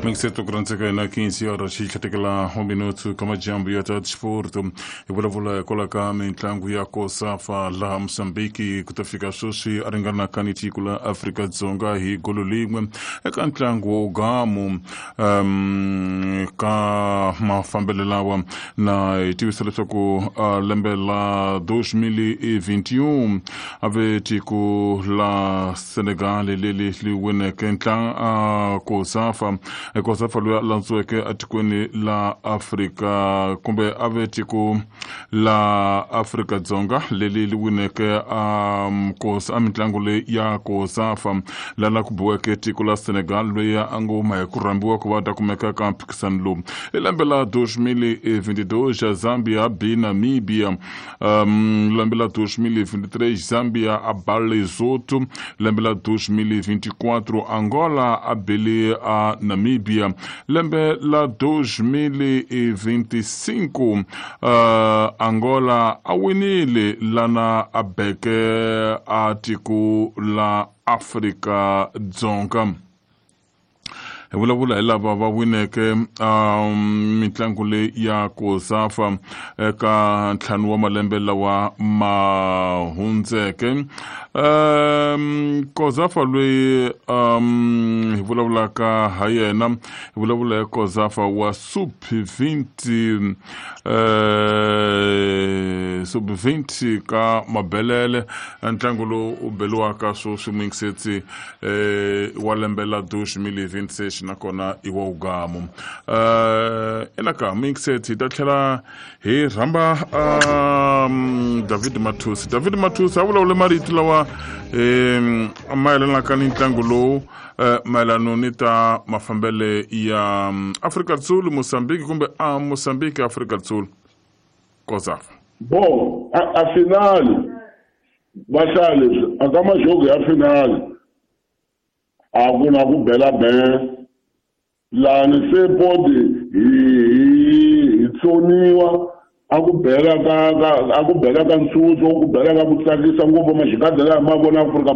Mingiseto ku rhandzeka hina 15 horas xi tlhatekela 1 minuto ka majambu ya ta disporto hi vulavula hikwalaho ka mitlangu ya kosafa laha Mozambique ku ta fika sweswi a ringanaka ni tiko la Afrika-Dzonga hi golo lin'we eka ntlangu wo gamu ka mafambelo lawa na hi tivisa leswaku lembe la 2021 a ve tiko la Senegal leri li wineke ntlangu kosafa kosafa loyi a landziweke etikweni la Afrika kumbe a ve tiko la Afrika-Dzonga leri li wineke a mitlangu leyi ya kosafa lala ku biweke tiko la Senegal loyi a ngo huma hi ku rhambiwa ku va ta kumeka ka mphikisano lowu i lembe la 2022 Zambia b Namibia lembe la 2023 Zambia a ba Lesotho lembe la 2024 Angola a bele a Namibia lembe la 2025 Angola a winile lana a beke a tiko la Afrika-Dzonga hi vulavula hi lava va wineke mitlangu leyi ya kosafa eka ntlhanu wa malembe lawa ma hundzeke kosafa loyi hi vulavulaka ha yena hi vulavula hi kosafa wa sub 20 sub 20 ka mabelele ntlangu lowu u beliwaka sweswi muyingisetsi wa lembe la 2026 nakona i wa ugamu enaka muyingisetsi hi ta tlhela hi rhamba David Mathusi David Mathusi a vulavule marito lawa mayelanaka ni ntlangu lowu mayelano ni ta mafambele ya Afrika Dzulu Mozambique kumbe a Mozambique Afrika Dzulu kosafa bon a finale va hlaya leswi a ka majogo ya finale a ku na ku bela ben lani se podi hi tsoniwa a ku bela ka a ku bela ka ntsutso ku bela ka ku tsakisa ngopfu maxikadza laha ma vona Afrika.